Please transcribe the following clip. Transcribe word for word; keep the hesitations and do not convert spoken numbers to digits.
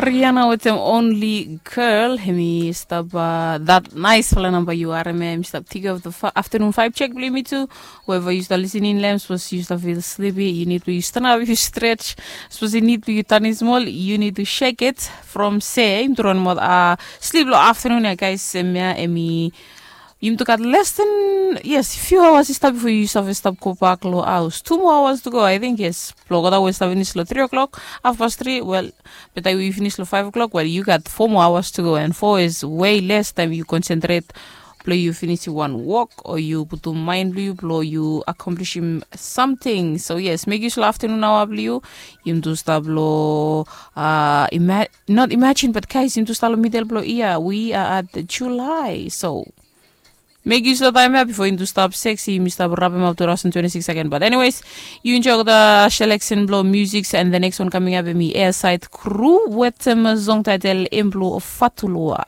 Riana wetem Only Girl, hemi stap that naisfala namba yu harim ya, hemi stap tek of the afternoon five check blong yumi tu. Whoever yu stap listening long hem, sapos yu stap feel sleepy, yu nid blong yu stanap, yu stretch. Sapos yu nid blong yu tanis mol, yu nid to shake it. From se yumi tu raun mot a slip long afternoon ya, guys. Hemia hemi yumi tu gat less than, yes, few hours i stap bifo yu save stap go bak long haus. Two more hours to go, I think, yes. Blong olgeta we stap finis long three o'clock, half past three, well, beta yu finis long five o'clock, well, yu gat four more hours to go, and four is way less taem yu concentrate blong yu finisim wan wok o yu putum mind blong yu blong yu accomplishim something. So yes, make use long afternoon hour blong yu. Yumi tu stap long, uh, ima- not imagine, but guys, yumi tu stap long middle blong year. We are at July, so make use long taem ya bifo yumi tu stap sexy, yumi stap rapem up two thousand twenty-six again. But anyways, yu enjoy the selection blong music, and the next one coming up, hemi Airside Crew wetem song title Emblo Fatulua.